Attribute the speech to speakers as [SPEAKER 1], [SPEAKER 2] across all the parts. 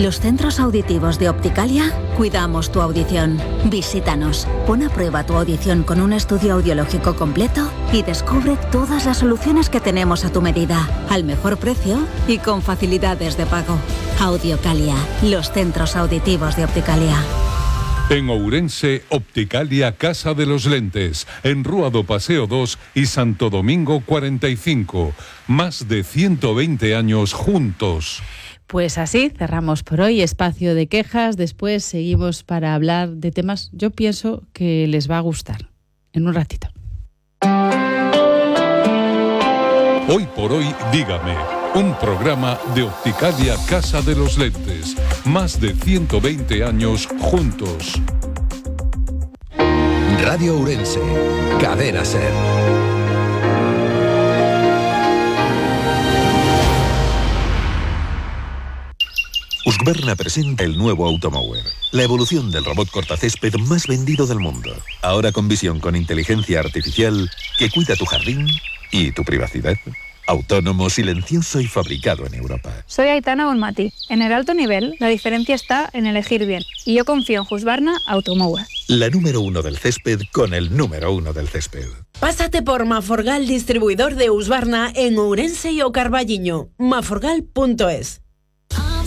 [SPEAKER 1] Los centros auditivos de Opticalia cuidamos tu audición. Visítanos, pon a prueba tu audición con un estudio audiológico completo y descubre todas las soluciones que tenemos a tu medida, al mejor precio y con facilidades de pago. Audiocalia, los centros auditivos de Opticalia.
[SPEAKER 2] En Ourense, Opticalia Casa de los Lentes, en Rúa do Paseo 2 y Santo Domingo 45. Más de 120 años juntos.
[SPEAKER 3] Pues así cerramos por hoy Espacio de Quejas. Después seguimos para hablar de temas, yo pienso que les va a gustar. En un ratito.
[SPEAKER 2] Hoy por hoy, dígame. Un programa de Opticalia Casa de los Lentes. Más de 120 años juntos.
[SPEAKER 4] Radio Ourense. Cadena SER. Husqvarna presenta el nuevo Automower, la evolución del robot cortacésped más vendido del mundo. Ahora con visión con inteligencia artificial que cuida tu jardín y tu privacidad. Autónomo, silencioso y fabricado en Europa.
[SPEAKER 5] Soy Aitana Bonmati. En el alto nivel, la diferencia está en elegir bien. Y yo confío en Husqvarna Automower.
[SPEAKER 4] La número 1 del césped con el número 1 del césped.
[SPEAKER 6] Pásate por Maforgal, distribuidor de Husqvarna en Ourense y O Carballiño. maforgal.es.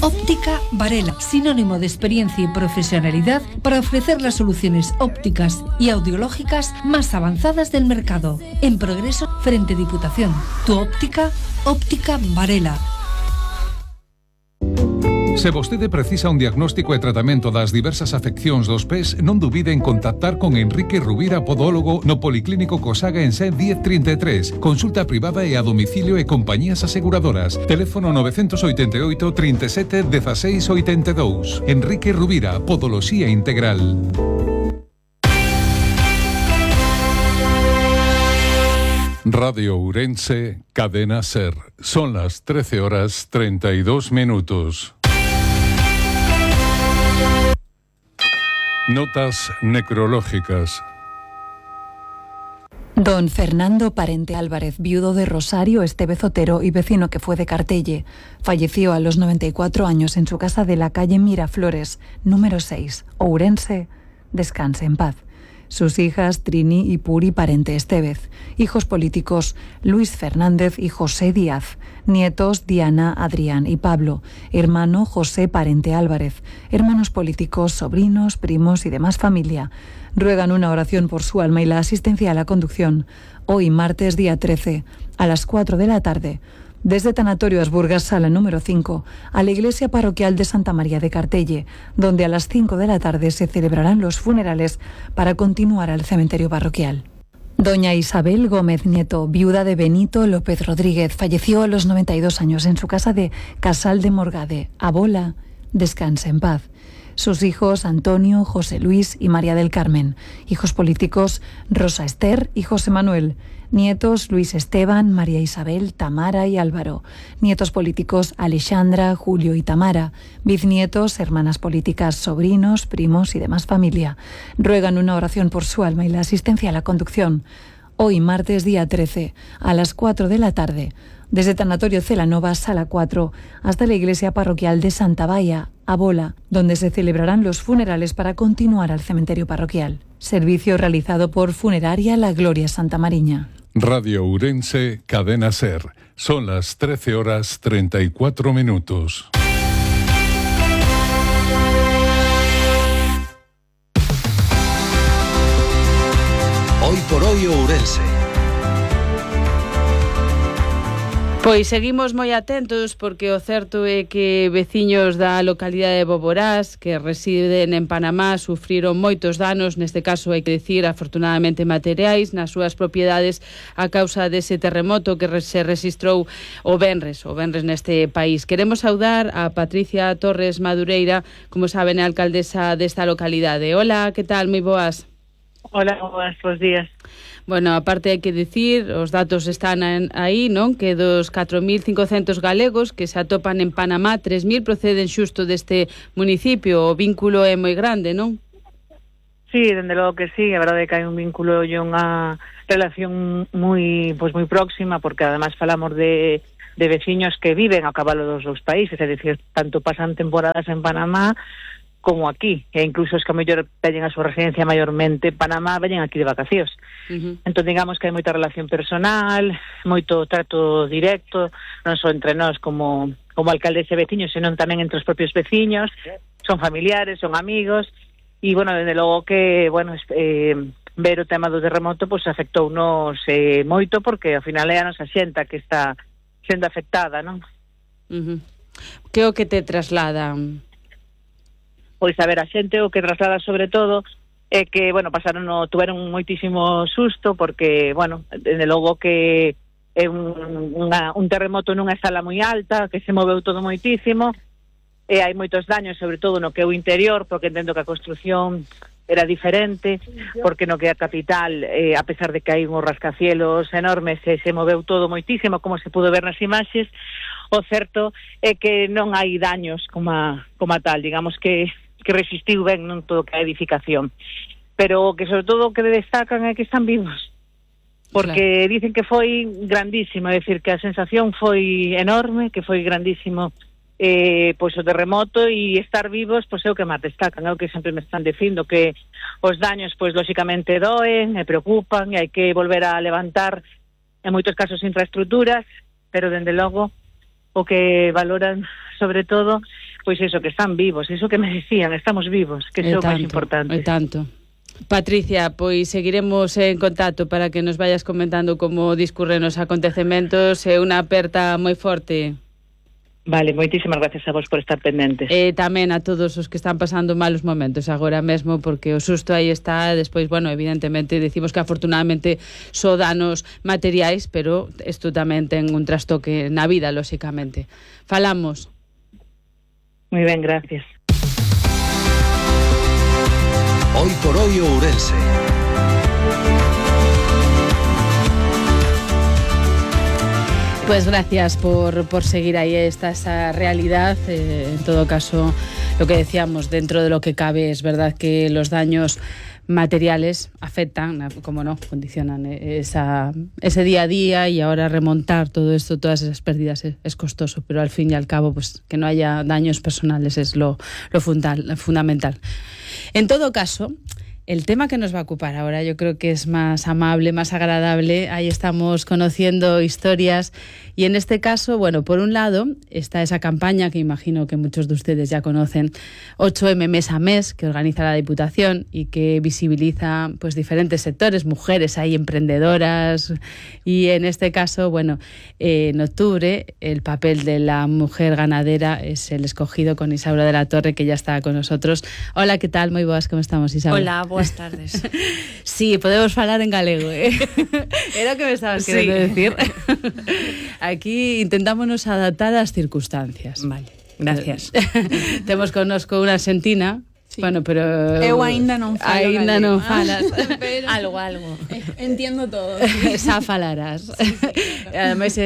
[SPEAKER 7] Óptica Varela, sinónimo de experiencia y profesionalidad para ofrecer las soluciones ópticas y audiológicas más avanzadas del mercado. En progreso, frente Diputación. Tu óptica, Óptica Varela.
[SPEAKER 2] Se vostede precisa un diagnóstico e tratamento das diversas afeccións dos pés, non dubide en contactar con Enrique Rubira, podólogo, no Policlínico Cosaga en Sen 1033. Consulta privada e a domicilio e compañías aseguradoras. Teléfono 988 37 16 82. Enrique Rubira, Podoloxía Integral. Radio Ourense, Cadena SER. Son las 13:32. Notas necrológicas.
[SPEAKER 8] Don Fernando Parente Álvarez, viudo de Rosario Estevez Otero y vecino que fue de Cartelle, falleció a los 94 años en su casa de la calle Miraflores, número 6, Ourense. Descanse en paz. Sus hijas Trini y Puri Parente Estevez, hijos políticos Luis Fernández y José Díaz, nietos Diana, Adrián y Pablo, hermano José Parente Álvarez, hermanos políticos, sobrinos, primos y demás familia. Ruegan una oración por su alma y la asistencia a la conducción. Hoy, martes día 13, a las 4 de la tarde, desde Tanatorio Asburgas, sala número 5, a la iglesia parroquial de Santa María de Cartelle, donde a las 5 de la tarde se celebrarán los funerales para continuar al cementerio parroquial. Doña Isabel Gómez Nieto, viuda de Benito López Rodríguez, falleció a los 92 años en su casa de Casal de Morgade, Abola. Descanse en paz. Sus hijos Antonio, José Luis y María del Carmen, hijos políticos Rosa Esther y José Manuel, nietos Luis Esteban, María Isabel, Tamara y Álvaro, nietos políticos Alexandra, Julio y Tamara, bisnietos, hermanas políticas, sobrinos, primos y demás familia. Ruegan una oración por su alma y la asistencia a la conducción. Hoy, martes día 13, a las 4 de la tarde, desde Tanatorio Celanova, sala 4, hasta la iglesia parroquial de Santa Baia, Abola, donde se celebrarán los funerales para continuar al cementerio parroquial. Servicio realizado por Funeraria La Gloria Santa Mariña.
[SPEAKER 2] Radio Ourense, Cadena SER. Son las 13:34.
[SPEAKER 4] Hoy por hoy Ourense.
[SPEAKER 3] Pois seguimos moi atentos porque o certo é que veciños da localidade de Boborás que residen en Panamá sufriron moitos danos, neste caso hai que dicir afortunadamente materiais, nas súas propiedades a causa dese terremoto que se rexistrou o venres neste país. Queremos saudar a Patricia Torres Madureira, como saben, é alcaldesa desta localidade. Hola, que tal? Moi boas.
[SPEAKER 9] Hola, boas días.
[SPEAKER 3] Bueno, aparte hai que dicir, os datos están aí, non? Que dos 4.500 galegos que se atopan en Panamá, 3.000 proceden xusto deste municipio. O vínculo é moi grande, non?
[SPEAKER 9] Sí, dende logo que sí, a verdade é que hai un vínculo e unha relación moi próxima, porque además falamos de veciños que viven a cabalo dos dous países, é dicir, tanto pasan temporadas en Panamá como aquí, e incluso os que a mellor teñen a súa residencia maiormente en Panamá veñen aquí de vacacións. Entón, digamos que hai moita relación personal, moito trato directo, non só entre nós como alcaldes e veciños, senón tamén entre os propios veciños, son familiares, son amigos, e, bueno, desde logo que, bueno, ver o tema do terremoto, pois afectounos moito, porque ao final é a nosa xenta que está sendo afectada, non?
[SPEAKER 3] Que o que te trasladan?
[SPEAKER 9] Pois, a ver, a xente o que traslada sobre todo é que, bueno, tuveron moitísimo susto porque, bueno, desde logo que é un terremoto nunha escala moi alta, que se moveu todo moitísimo, e hai moitos daños, sobre todo no que é o interior, porque entendo que a construción era diferente, porque no que é a capital, a pesar de que hai uns rascacielos enormes, se moveu todo moitísimo, como se pudo ver nas imaxes. O certo é que non hai daños como tal, digamos que resistiu ben non todo que a edificación, pero que sobre todo o que destacan é que están vivos, porque dicen que foi grandísimo, é dicir, que a sensación foi enorme, que foi grandísimo pois o terremoto, e estar vivos pois é o que máis destacan, é o que sempre me están dicindo, que os daños pois lóxicamente doen e preocupan, e hai que volver a levantar en moitos casos infraestructuras, pero dende logo o que valoran sobre todo pois iso, que están vivos, iso que me decían, estamos vivos, que é o máis importante.
[SPEAKER 3] E tanto. Patricia, pois seguiremos en contacto para que nos vayas comentando como discurren os acontecementos, e unha aperta moi forte.
[SPEAKER 9] Vale, moitísimas gracias a vos por estar pendentes.
[SPEAKER 3] E tamén a todos os que están pasando malos momentos agora mesmo, porque o susto aí está. Despois, bueno, evidentemente decimos que afortunadamente só danos materiais, pero isto tamén ten un trastoque na vida, lóxicamente. Falamos.
[SPEAKER 9] Muy ben, gracias.
[SPEAKER 10] Hoy por hoy Ourense.
[SPEAKER 3] Pues gracias por seguir ahí esa realidad. En todo caso, lo que decíamos, dentro de lo que cabe, es verdad que los daños materiales afectan, como no, condicionan ese día a día, y ahora remontar todo esto, todas esas pérdidas es costoso, pero al fin y al cabo, pues que no haya daños personales es lo fundamental. En todo caso, el tema que nos va a ocupar ahora yo creo que es más amable, más agradable. Ahí estamos conociendo historias, y en este caso, bueno, por un lado está esa campaña que imagino que muchos de ustedes ya conocen, 8M mes a mes, que organiza la Diputación y que visibiliza pues diferentes sectores, mujeres ahí emprendedoras, y en este caso, bueno, en octubre el papel de la mujer ganadera es el escogido, con Isaura de la Torre, que ya está con nosotros. Hola, ¿qué tal? Moi boas, como estamos, Isaura?
[SPEAKER 11] Hola, boas tardes.
[SPEAKER 3] Sí, podemos falar en galego, Era o que me estabas querendo decir. Aquí intentámonos adaptar ás circunstancias.
[SPEAKER 11] Vale, gracias.
[SPEAKER 3] Temos connosco unha argentina. Sí. Bueno, pero
[SPEAKER 11] eu aínda non falo
[SPEAKER 3] aínda non falas.
[SPEAKER 11] Pero algo. Entiendo todo.
[SPEAKER 3] Xa falarás. Sí, claro. Ademais,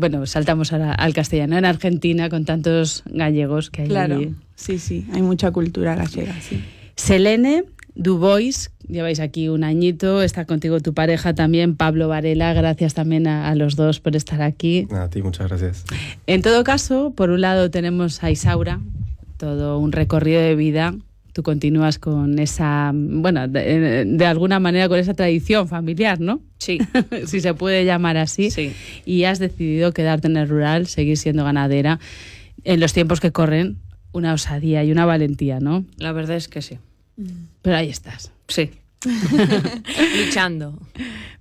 [SPEAKER 3] bueno, saltamos al castellano. En Argentina, con tantos gallegos que hai.
[SPEAKER 11] Claro, sí, hai mucha cultura gallega, sí.
[SPEAKER 3] Selene Dubois, lleváis aquí un añito, está contigo tu pareja también, Pablo Varela. Gracias también a los dos por estar aquí.
[SPEAKER 12] A ti, muchas gracias.
[SPEAKER 3] En todo caso, por un lado tenemos a Isaura, todo un recorrido de vida. Tú continúas con esa, bueno, de alguna manera con esa tradición familiar, ¿no?
[SPEAKER 11] Sí.
[SPEAKER 3] Si se puede llamar así.
[SPEAKER 11] Sí.
[SPEAKER 3] Y has decidido quedarte en el rural, seguir siendo ganadera. En los tiempos que corren, una osadía y una valentía, ¿no?
[SPEAKER 11] La verdad es que sí.
[SPEAKER 3] Pero ahí estás.
[SPEAKER 11] Sí. Luchando.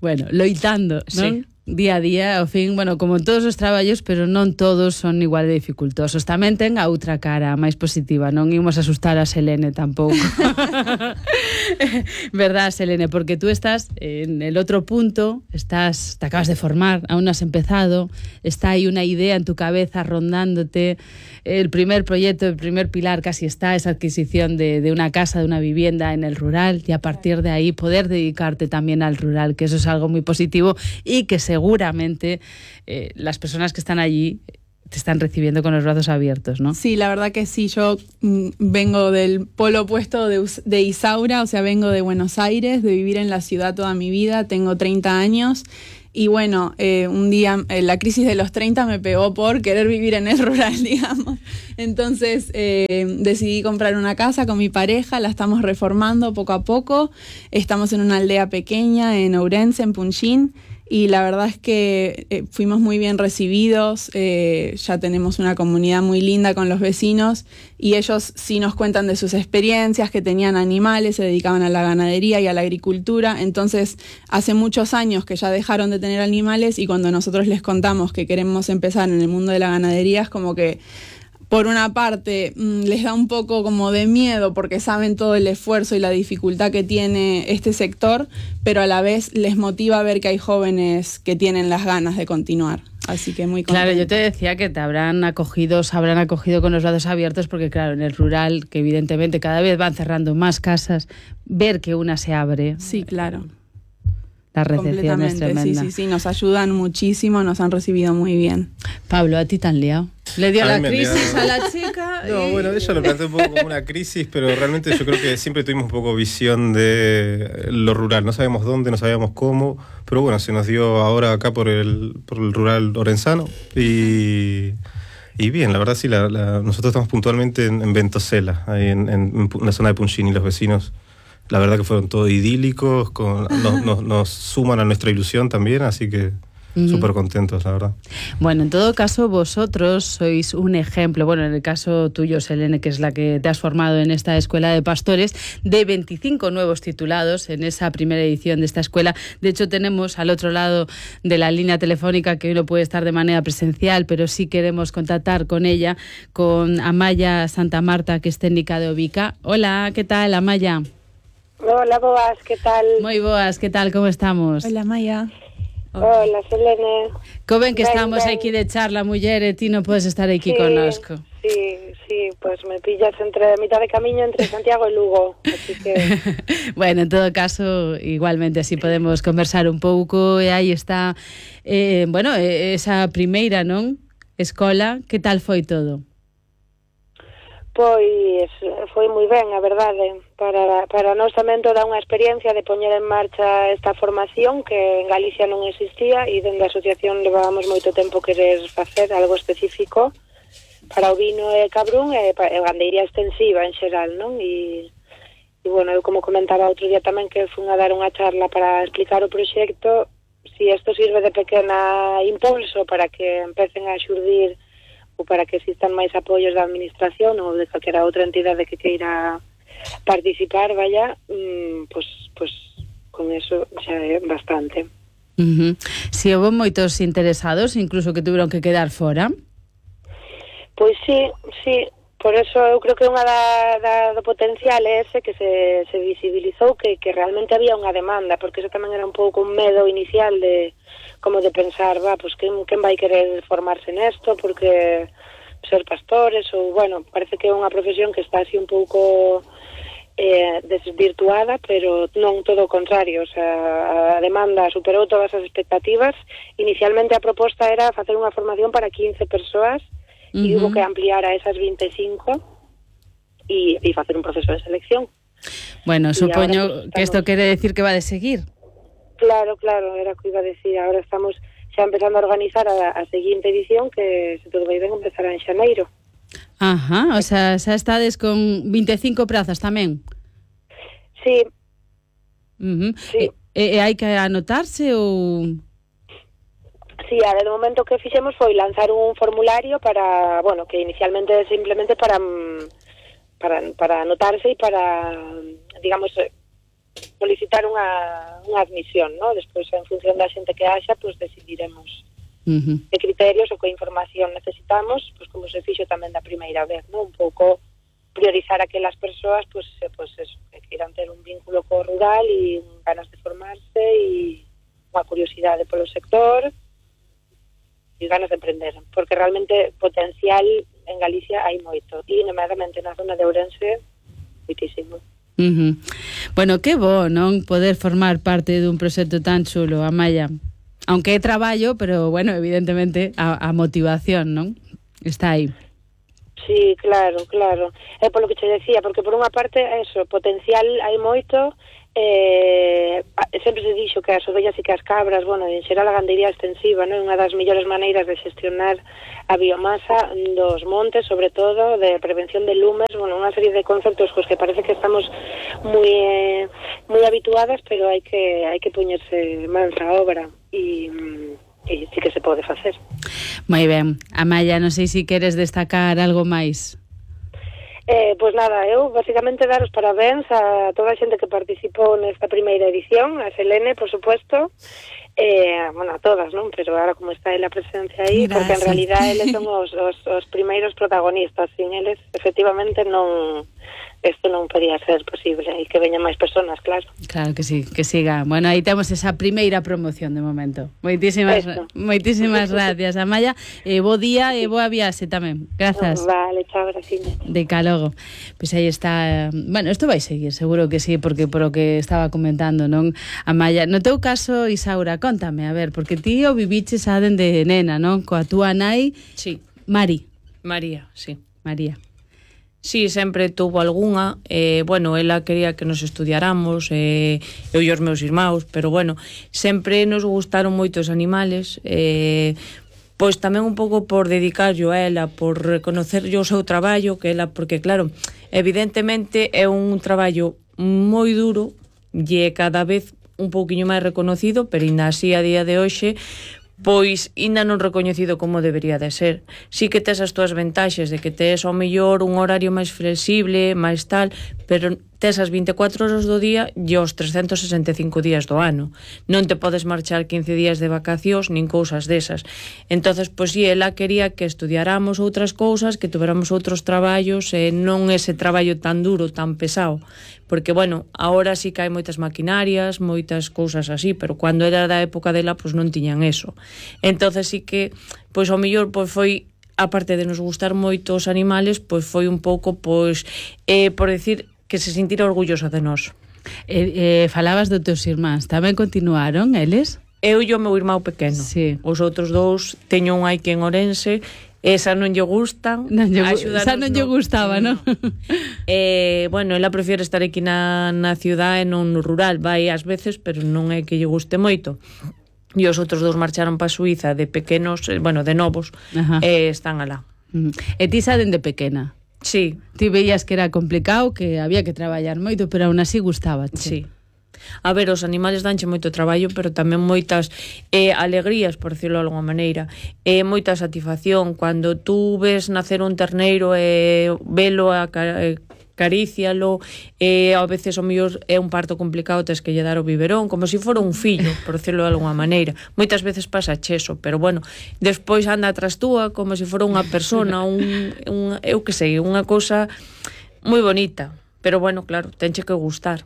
[SPEAKER 3] Bueno, loitando, ¿no?
[SPEAKER 11] Sí.
[SPEAKER 3] Día a día, ao fin, bueno, como en todos os traballos, pero non todos son igual de dificultosos. Tamén ten a outra cara máis positiva, non imos asustar a Selene tampouco. Verdad, Selene, porque tú estás en el otro punto, te acabas de formar, aún no has empezado, está ahí una idea en tu cabeza rondándote, el primer proyecto, el primer pilar casi está, esa adquisición de una casa, de una vivienda en el rural, y a partir de ahí poder dedicarte también al rural, que eso es algo muy positivo, y que seguramente las personas que están allí te están recibiendo con los brazos abiertos, ¿no?
[SPEAKER 13] Sí, la verdad que sí. Yo vengo del polo opuesto de Isaura, o sea, vengo de Buenos Aires, de vivir en la ciudad toda mi vida. Tengo 30 años Y bueno, un día la crisis de los 30 me pegó por querer vivir en el rural, digamos. Entonces decidí comprar una casa con mi pareja, la estamos reformando poco a poco. Estamos en una aldea pequeña en Ourense, en Punxín, y la verdad es que fuimos muy bien recibidos. Ya tenemos una comunidad muy linda con los vecinos y ellos sí nos cuentan de sus experiencias, que tenían animales, se dedicaban a la ganadería y a la agricultura. Entonces hace muchos años que ya dejaron de tener animales, y cuando nosotros les contamos que queremos empezar en el mundo de la ganadería, es como que por una parte les da un poco como de miedo porque saben todo el esfuerzo y la dificultad que tiene este sector, pero a la vez les motiva ver que hay jóvenes que tienen las ganas de continuar. Así que muy contenta.
[SPEAKER 3] Claro, yo te decía que te habrán acogido con los brazos abiertos, porque claro, en el rural, que evidentemente cada vez van cerrando más casas, ver que una se abre.
[SPEAKER 13] Sí, claro.
[SPEAKER 3] La recepción es tremenda.
[SPEAKER 13] Sí, nos ayudan muchísimo, nos han recibido muy bien.
[SPEAKER 3] Pablo, ¿a ti te han liado? Le dio la crisis a la chica.
[SPEAKER 12] No, bueno, ella lo planteó un poco como una crisis, pero realmente yo creo que siempre tuvimos un poco visión de lo rural. No sabíamos dónde, no sabíamos cómo, pero bueno, se nos dio ahora acá por el rural orensano y bien, la verdad sí, nosotros estamos puntualmente en Ventosela, ahí en la zona de Punxín, y los vecinos, la verdad que fueron todos idílicos, nos suman a nuestra ilusión también, así que súper contentos, la verdad.
[SPEAKER 3] Bueno, en todo caso, vosotros sois un ejemplo, bueno, en el caso tuyo, Selene, que es la que te has formado en esta escuela de pastores, de 25 nuevos titulados en esa primera edición de esta escuela. De hecho, tenemos al otro lado de la línea telefónica, que hoy no puede estar de manera presencial, pero sí queremos contactar con ella, con Amaya Santa Marta, que es técnica de Ovica. Hola, ¿qué tal, Amaya?
[SPEAKER 14] Hola, boas, ¿qué tal?
[SPEAKER 3] Moi boas, ¿qué tal? Como estamos?
[SPEAKER 13] Hola, Maya.
[SPEAKER 14] Hola, Selene.
[SPEAKER 3] Co ben que estamos aquí de charla, muller, e ti non podes estar aquí connosco.
[SPEAKER 14] Sí, pues me pillas entre mitad de camino entre Santiago e Lugo, así que...
[SPEAKER 3] Bueno, en todo caso, igualmente así podemos conversar un pouco, e aí está, esa primeira, non? Escola, que tal foi todo?
[SPEAKER 14] Pois foi moi ben, a verdade. Para nós tamén toda unha experiencia de poñer en marcha esta formación que en Galicia non existía, e dende a asociación levábamos moito tempo querer facer algo específico para o vino e cabrún e gandeiría extensiva en xeral, non? E bueno, eu como comentaba outro día tamén que fun a dar unha charla para explicar o proxecto, si isto sirve de pequena impulso para que empecen a xurdir ou para que existan máis apoios da administración ou de calquera outra entidade que queira participar, pues con eso xa é bastante.
[SPEAKER 3] Si houve moitos interesados, incluso que tuveron que quedar fora?
[SPEAKER 14] Pois sí, por eso eu creo que unha do potencial é ese que se visibilizou que realmente había unha demanda, porque eso tamén era un pouco un medo inicial de como de pensar, pues quen vai querer formarse nesto, porque ser pastores, ou, bueno, parece que é unha profesión que está así un pouco desvirtuada, pero non todo o contrario, o sea, a demanda superou todas as expectativas. Inicialmente a proposta era facer unha formación para 15 persoas, e hubo que ampliar a esas 25 e facer un proceso de selección.
[SPEAKER 3] Bueno, supoño que isto quere decir que va de seguir.
[SPEAKER 14] Claro, era o que iba a decir. Ahora estamos xa empezando a organizar a seguinte edición, que se todo vai ben empezará en xaneiro.
[SPEAKER 3] Ajá, o sea, xa estades con 25 prazas tamén.
[SPEAKER 14] Sí.
[SPEAKER 3] Sí. E hai que anotarse ou...
[SPEAKER 14] Sí, a ver, de momento que fixemos foi lanzar un formulario para, bueno, que inicialmente simplemente para anotarse e para, digamos, solicitar unha admisión, ¿no? Despois, en función da xente que haxa, pues decidiremos que criterios ou que información necesitamos, pues como se fixo tamén da primeira vez, ¿no? Un pouco priorizar aquelas persoas, pues eso, que queiran ter un vínculo co rural e ganas de formarse e unha curiosidade polo sector e ganas de emprender, porque realmente potencial en Galicia hai moito, e nomeadamente na zona de Ourense, moitísimo.
[SPEAKER 3] Bueno, que bo, non? Poder formar parte dun proxecto tan chulo, Amaya. Aunque é traballo, pero, bueno, evidentemente, a motivación, non? Está aí.
[SPEAKER 14] Sí, claro. É polo que che decía, porque por unha parte, eso, potencial hai moito, sempre se dixo que as ovellas e que as cabras, bueno, en xeral a gandería extensiva, non é unha das mellores maneiras de xestionar a biomasa dos montes, sobre todo de prevención de lumes, bueno, unha serie de conceptos cos que parece que estamos moi habituadas, pero hai que poñerse mans á obra e sí que se pode facer.
[SPEAKER 3] Moi ben. Amaya, non sei se queres destacar algo máis.
[SPEAKER 14] Pois nada, eu basicamente dar os parabéns a toda a xente que participou nesta primeira edición, a Selene, por supuesto, bueno, a todas, non? Pero ahora como está a presencia aí, porque en realidad eles son os primeiros protagonistas, sin eles efectivamente isto non podía ser posible e que veñan máis personas, claro.
[SPEAKER 3] Claro que sí, que siga. Bueno, aí temos esa primeira promoción de momento. Moitísimas gracias, Amaya. Bo día e boa viaxe tamén. Grazas.
[SPEAKER 14] Vale, chao, gracias.
[SPEAKER 3] De calogo. Pois aí está. Bueno, isto vai seguir, seguro que sí, porque por o que estaba comentando, non? Amaya, no teu caso, Isaura, contame, a ver, porque ti o viviches a dende nena, non? Coa túa nai.
[SPEAKER 15] Sí.
[SPEAKER 3] María,
[SPEAKER 15] sí.
[SPEAKER 3] María.
[SPEAKER 15] Sí, sempre tuvo algunha, bueno, ela quería que nos estudiáramos, eu e os meus irmãos, pero bueno, sempre nos gustaron moito os animales, pois tamén un pouco por dedicarlo a ela, por reconocerlle o seu traballo, que ela, porque claro, evidentemente é un traballo moi duro e cada vez un pouquiño máis reconocido, pero ainda así a día de hoxe pois ainda non recoñecido como debería de ser. Sí que tes as túas ventaxes de que tes ao mellor un horario máis flexible, máis tal, pero tes as 24 horas do día e os 365 días do ano. Non te podes marchar 15 días de vacacións nin cousas desas. Entonces, pois si, ela quería que estudiáramos outras cousas, que tuveramos outros traballos, e non ese traballo tan duro, tan pesado. Porque, bueno, ahora sí que hai moitas maquinarias, moitas cousas así, pero cando era da época dela, pois non tiñan eso. Entonces sí que, pois ao mellor, pois foi, aparte de nos gustar moito os animales, pois foi un pouco, pois, por decir, que se sintira orgullosa de nós.
[SPEAKER 3] Falabas dos teus irmáns, tamén continuaron eles?
[SPEAKER 15] Eu e o meu irmão pequeno.
[SPEAKER 3] Sí.
[SPEAKER 15] Os outros dous, teño un aí que en Ourense, esa non lle gustan.
[SPEAKER 3] Esa non lle gustaba, non?
[SPEAKER 15] Bueno, ela prefiere estar aquí na ciudad e non no rural. Vai ás veces, pero non é que lle guste moito. E os outros dous marcharon para Suiza de pequenos, bueno, de novos, e están alá.
[SPEAKER 3] E ti saben de pequena?
[SPEAKER 15] Sí.
[SPEAKER 3] Ti veías que era complicado, que había que traballar moito, pero aún así gustaba.
[SPEAKER 15] Sí. A ver, os animales danche moito traballo, pero tamén moitas alegrías, por decirlo de alguma maneira, moita satisfacción. Cando tú ves nacer un terneiro e velo, acarícialo, a veces o mellor é un parto complicado, tes que lle dar o biberón, como se fora un fillo, por decirlo de alguma maneira. Moitas veces pasa cheso, pero bueno, despois anda atrás túa como se fora unha persona, eu que sei, unha cousa moi bonita. Pero bueno, claro, tenche que gustar.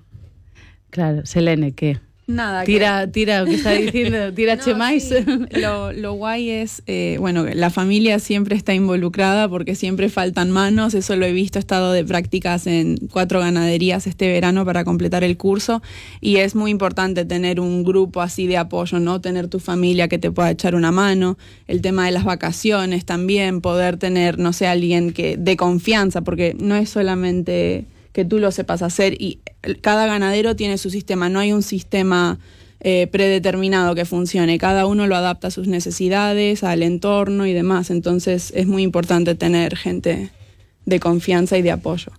[SPEAKER 3] Claro, Selene, ¿qué?
[SPEAKER 13] Nada.
[SPEAKER 3] Tira o que está diciendo, tirache máis.
[SPEAKER 13] Sí. Lo guay es, bueno, la familia siempre está involucrada porque siempre faltan manos, eso lo he visto, he estado de prácticas en 4 ganaderías este verano para completar el curso y es muy importante tener un grupo así de apoyo, ¿no? Tener tu familia que te pueda echar una mano, el tema de las vacaciones también, poder tener, no sé, alguien que de confianza, porque no es solamente que tú lo sepas hacer y cada ganadero tiene su sistema, no hay un sistema predeterminado que funcione, cada uno lo adapta a sus necesidades, al entorno y demás, entonces es muy importante tener gente de confianza y de apoyo.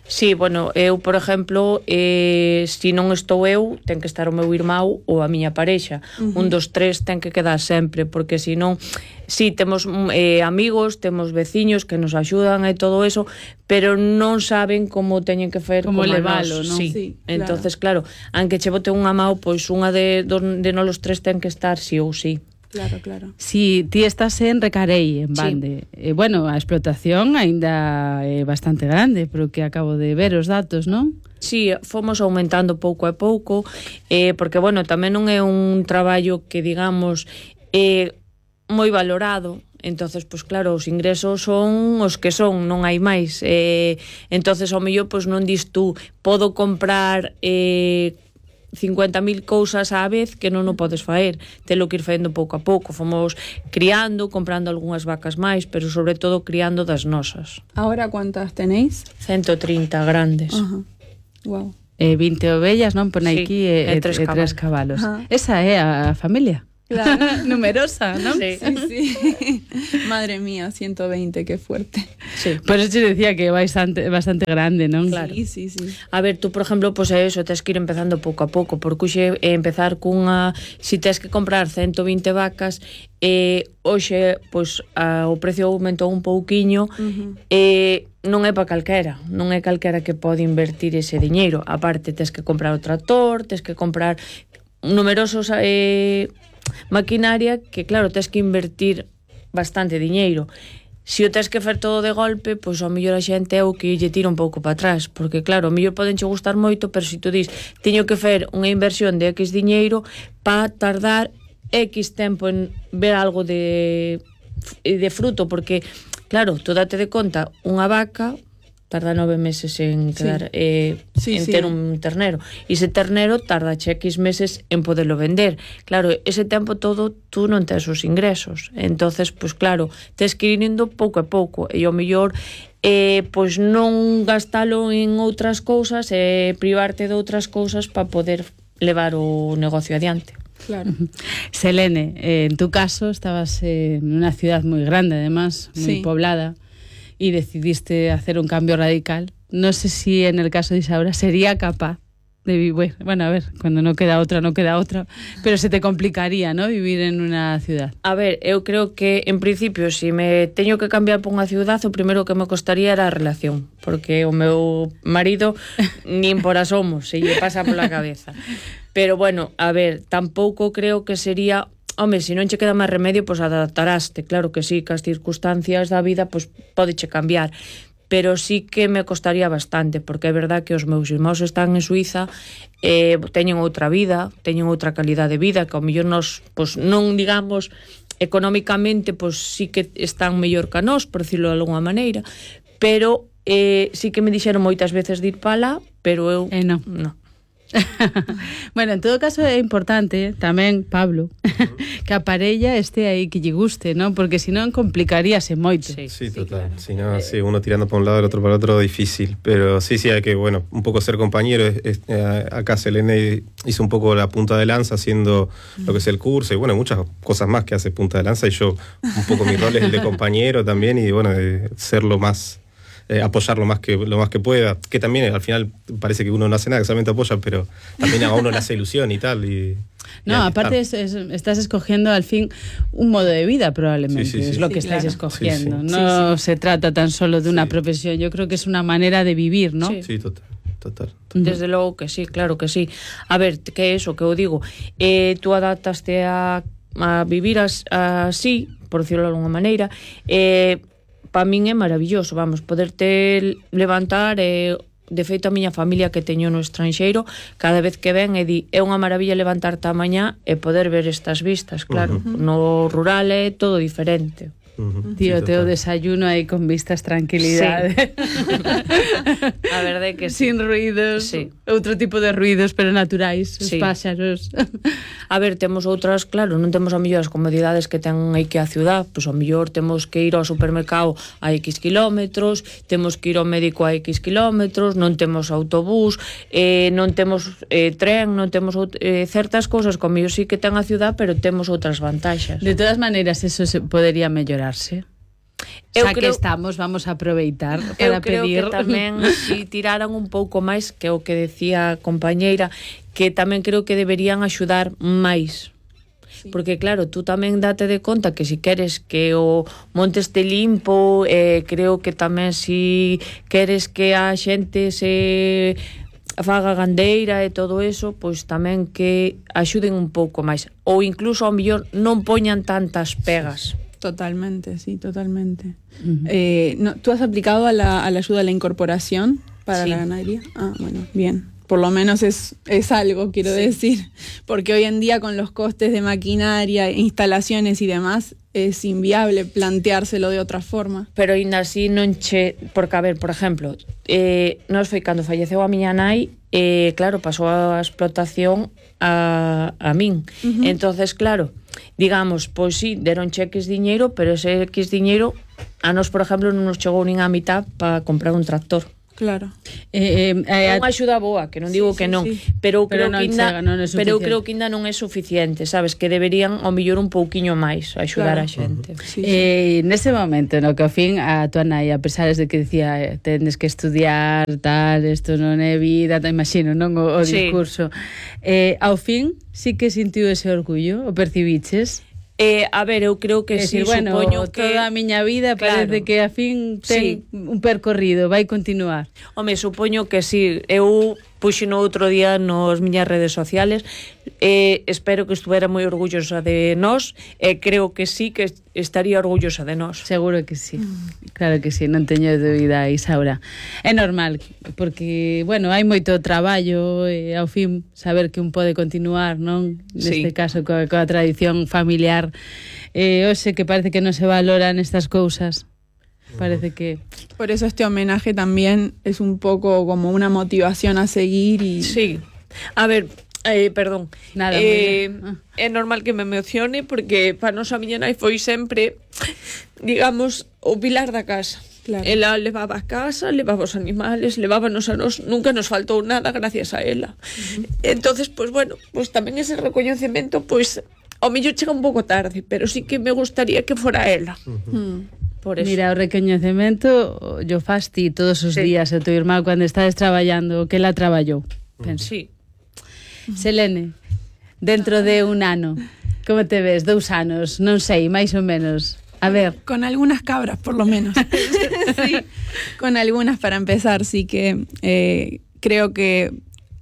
[SPEAKER 15] Sí, bueno, eu, por exemplo, se non estou eu, ten que estar o meu irmão ou a miña parexa. Un dos tres ten que quedar sempre, porque senón, sí, temos amigos, temos veciños que nos axudan e todo eso, pero non saben como teñen que fer
[SPEAKER 3] como levalo, non?
[SPEAKER 15] Sí, entonces, claro, aunque che bote unha mão, pois unha de nós os tres ten que estar sí ou sí.
[SPEAKER 13] Claro, claro.
[SPEAKER 3] Si ti estás en Recarei, en Bande, sí. Bueno, a explotación aínda é bastante grande, pero que acabo de ver os datos, non?
[SPEAKER 15] Sí, fomos aumentando pouco a pouco, porque, bueno, tamén non é un traballo que, digamos, moi valorado, entonces, pois claro, os ingresos son os que son, non hai máis, entonces, ao mellor, pois non dis tú, podo comprar 50.000 cousas á vez que non o podes faer, telo que ir facendo pouco a pouco. Fomos criando, comprando algunhas vacas máis, pero sobre todo criando das nosas.
[SPEAKER 13] Ahora, ¿cuántas tenéis?
[SPEAKER 15] 130 grandes.
[SPEAKER 13] Ajá. Wow.
[SPEAKER 3] 20 ovellas, non? Pon
[SPEAKER 15] Sí,
[SPEAKER 3] aquí
[SPEAKER 15] e 3
[SPEAKER 3] 3 cabalos. Esa é a familia.
[SPEAKER 13] Claro.
[SPEAKER 3] Numerosa, non?
[SPEAKER 15] Sí.
[SPEAKER 13] Sí. Madre mía, 120, qué fuerte.
[SPEAKER 15] Sí.
[SPEAKER 3] Por eso te decía que é bastante grande, non?
[SPEAKER 15] Claro.
[SPEAKER 13] Sí.
[SPEAKER 15] A ver, tú, por ejemplo, pues eso, tens que ir empezando pouco a pouco, porque hoxe empezar cunha, si tens que comprar 120 vacas, hoxe, pues, o precio aumentou un pouquiño, non é para calquera, non é calquera que pode invertir ese diñeiro. Aparte, tens que comprar o tractor, tens que comprar numerosos maquinaria que, claro, tens que invertir bastante diñeiro. Se o tens que fer todo de golpe, pois ao mellor a xente é o que lle tira un pouco para atrás, porque claro, ao mellor podenche gustar moito, pero se tu dis, teño que fer unha inversión de X diñeiro para tardar X tempo en ver algo de fruto, porque claro, tú date de conta, unha vaca tarda 9 meses en quedar ter un ternero, e ese ternero tarda X meses en poderlo vender. Claro, ese tempo todo tú non tes os ingresos, entonces, pues claro, tes que ir indo pouco a pouco, e ao mellor pois non gastalo en outras cousas e privarte de outras cousas para poder levar o negocio adiante.
[SPEAKER 13] Claro.
[SPEAKER 3] Selene, en tu caso estabas en una ciudad muy grande, además, muy poblada, y decidiste hacer un cambio radical. No sé si en el caso de Isaura sería capaz de vivir, bueno, a ver, cuando no queda otra, pero se te complicaría, ¿no?, vivir en una ciudad.
[SPEAKER 15] A ver, eu creo que, en principio, se me teño que cambiar por unha ciudad, o primeiro que me costaría era a relación, porque o meu marido nin por asomo se lle pasa pola cabeza. Pero, bueno, a ver, tampouco creo que sería... Home, se non che queda máis remedio, pois adaptaraste. Claro que sí, que as circunstancias da vida pois pódeche cambiar. Pero sí que me costaría bastante, porque é verdad que os meus irmãos están en Suiza, teñen outra vida, teñen outra calidade de vida, que ao mellor nos, pois non digamos económicamente, pois sí que están mellor que nós, por decirlo de alguna maneira, pero sí que me dixeron moitas veces de ir para lá, pero eu
[SPEAKER 3] non. Bueno, en todo caso é importante tamén, Pablo, que a parella este aí que lle guste, ¿no? Porque si non complicaríase moito.
[SPEAKER 12] Sí, total. Claro. Si no, sí, uno tirando para un lado, el otro para el otro, difícil. Pero sí, hay que, bueno, un poco ser compañero. Acá Selene hizo un poco la punta de lanza haciendo lo que es el curso y, bueno, muchas cosas más que hace punta de lanza, y yo un poco mi rol es el de compañero también, y, bueno, de ser lo más... apoyar lo más que pueda, que también al final parece que uno no hace nada, que solamente apoya, pero también a uno le hace ilusión y tal.
[SPEAKER 3] No, aparte estás escogiendo al fin un modo de vida, probablemente,
[SPEAKER 12] sí,
[SPEAKER 3] es lo que estáis escogiendo. No se trata tan solo de una profesión, yo creo que es una manera de vivir, ¿no?
[SPEAKER 12] Sí, total.
[SPEAKER 15] Desde logo que sí, claro que sí. A ver, que é eso que eu digo, tú adaptaste a vivir así, por decirlo de alguna maneira, para min é maravilloso, vamos, poderte levantar, de feito a miña familia que teño no estranxeiro, cada vez que ven é unha maravilla levantarte a mañá e poder ver estas vistas, claro. No rural é todo diferente.
[SPEAKER 3] Tío, teo desayuno aí con vistas, tranquilidade.
[SPEAKER 15] Sí. A verdade que
[SPEAKER 3] sin ruidos, outro tipo de ruidos, pero naturais, os páxaros.
[SPEAKER 15] A ver, temos outras, claro, non temos a mellor as comodidades que ten aí que a ciudad, pois a mellor temos que ir ao supermercado a X kilómetros, temos que ir ao médico a X kilómetros, non temos autobús, non temos tren, non temos certas cousas como yo sí que ten a ciudad, pero temos outras vantaxas.
[SPEAKER 3] De todas maneiras, eso se podería mellorar. Xa que estamos, vamos a aproveitar para pedir.
[SPEAKER 15] Eu creo que tamén si tiraran un pouco máis, que o que decía a compañeira, que tamén creo que deberían axudar máis. Porque claro, tú tamén date de conta que si queres que o monte este limpo, creo que tamén si queres que a xente se faga gandeira e todo eso, pois tamén que axuden un pouco máis, ou incluso ao mellor non poñan tantas pegas.
[SPEAKER 13] Totalmente, sí, totalmente. ¿Tú has aplicado a la ayuda a la incorporación para la ganadería? Ah, bueno, bien. Por lo menos es algo, quiero decir. Porque hoy en día con los costes de maquinaria, instalaciones y demás, es inviable planteárselo de otra forma.
[SPEAKER 15] Pero ainda así non che... Porque, a ver, por exemplo, nos foi cando falleceu a miña nai, claro, pasou a explotación a min. Entonces, claro, digamos, pois sí, deron X diñeiro, pero ese X diñeiro a nos, por exemplo, non nos chegou nin a mitad para comprar un tractor.
[SPEAKER 13] Claro.
[SPEAKER 15] É unha axuda boa, que non digo que non, pero creo que ainda non é suficiente, sabes, que deberían ao mellor un pouquiño máis axudar a xente.
[SPEAKER 3] Nese momento, no que ao fin a tua nai, a pesar de que dicía tendes que estudiar, tal, isto non é vida, te imagino, non o discurso, ao fin sí que sentiu ese orgullo, o percibiches?
[SPEAKER 15] A ver, eu creo que sí,
[SPEAKER 3] bueno,
[SPEAKER 15] supoño que
[SPEAKER 3] toda a miña vida parece que a fin ten un percorrido, vai continuar.
[SPEAKER 15] Home, supoño que sí. Eu puxeno outro día nos miñas redes sociales, espero que estuvera moi orgullosa de nós, e creo que sí que estaría orgullosa de nós.
[SPEAKER 3] Seguro que sí. Claro que sí, non teño dúbida, Isaura. É normal, porque, bueno, hai moito traballo e ao fin saber que un pode continuar, non? Neste caso, coa tradición familiar. Hoxe que parece que non se valoran estas cousas. Parece que...
[SPEAKER 13] Por eso este homenaje también es un poco como una motivación a seguir y...
[SPEAKER 15] Sí. A ver, perdón.
[SPEAKER 3] Nada,
[SPEAKER 15] é normal que me emocione porque para nos a miña nai foi sempre, digamos, o pilar da casa. Claro. Ela levaba a casa, levaba os animales, levábanos a nos, nunca nos faltou nada gracias a ela. Entonces, pues bueno, pues tamén ese recoñecemento, pues ao mellor chega un pouco tarde, pero sí que me gustaría que fora ela.
[SPEAKER 3] Por eso. Mira, o recoñecemento yo fas ti todos os días a tu irmán cando estades traballando, que ela traballou.
[SPEAKER 15] Sí.
[SPEAKER 3] Selene, dentro de un ano, como te ves? 2 anos, non sei, máis ou menos. A ver.
[SPEAKER 13] Con algunas cabras, por lo menos. Sí. Con algunas para empezar, sí que creo que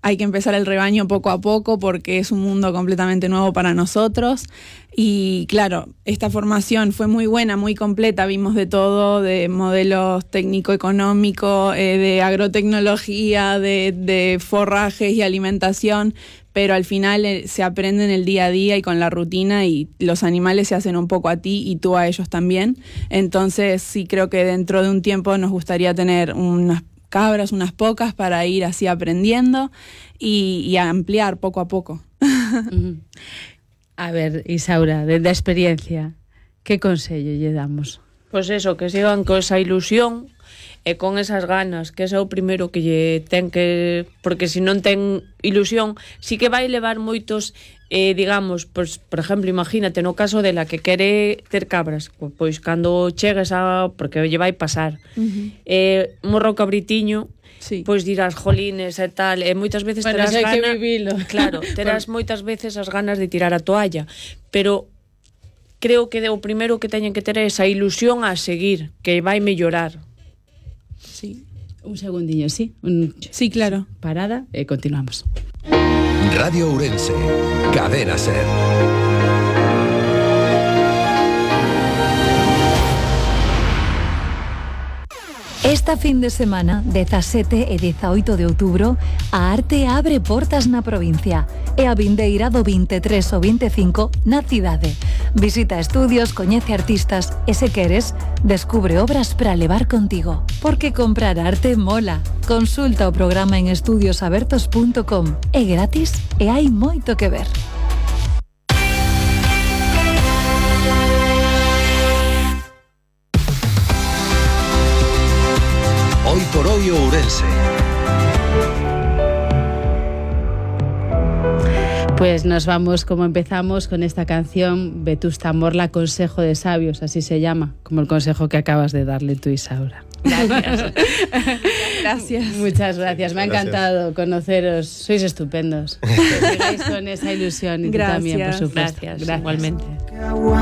[SPEAKER 13] hay que empezar el rebaño poco a poco porque es un mundo completamente nuevo para nosotros y claro, esta formación fue muy buena, muy completa, vimos de todo, de modelos técnico-económico, de agrotecnología, de forrajes y alimentación, pero al final se aprende en el día a día y con la rutina y los animales se hacen un poco a ti y tú a ellos también. Entonces sí creo que dentro de un tiempo nos gustaría tener unas cabras, unas pocas, para ir así aprendiendo y ampliar poco a poco.
[SPEAKER 3] A ver, Isaura, desde a experiencia, que consello lle damos?
[SPEAKER 15] Pois eso, que sigan con esa ilusión e con esas ganas, que ese é o primeiro que lle ten que... Porque se non ten ilusión, sí que vai levar moitos... digamos, pois, por exemplo, imagínate no caso de la que quere ter cabras, pois cando chegues a... porque lle vai pasar morro cabritiño, pois dirás jolines e tal, e moitas veces terás ganas,
[SPEAKER 3] que vivilo.
[SPEAKER 15] Claro, terás moitas veces as ganas de tirar a toalla, pero creo que o primeiro que teñen que ter é esa ilusión a seguir, que vai mellorar.
[SPEAKER 3] Sí. Un segundinho, sí.
[SPEAKER 13] Sí, claro.
[SPEAKER 3] Parada e continuamos.
[SPEAKER 10] Radio Ourense, Cadena Ser.
[SPEAKER 8] Esta fin de semana, 17 e 18 de outubro, a arte abre portas na provincia e a vindeira do 23 ou 25 na cidade. Visita estudios, coñece artistas e, se queres, descubre obras para levar contigo. Porque comprar arte mola. Consulta o programa en estudiosabertos.com. É gratis e hai moito que ver.
[SPEAKER 10] Hoy por hoy Ourense.
[SPEAKER 3] Pues nos vamos como empezamos con esta canción Vetusta Morla, Consejo de Sabios, así se llama, como el consejo que acabas de darle tú, Isaura.
[SPEAKER 13] Gracias. Gracias.
[SPEAKER 3] Muchas gracias, me ha encantado conoceros, sois estupendos. Que sigáis con esa ilusión y tú también, por supuesto.
[SPEAKER 15] Gracias. Igualmente.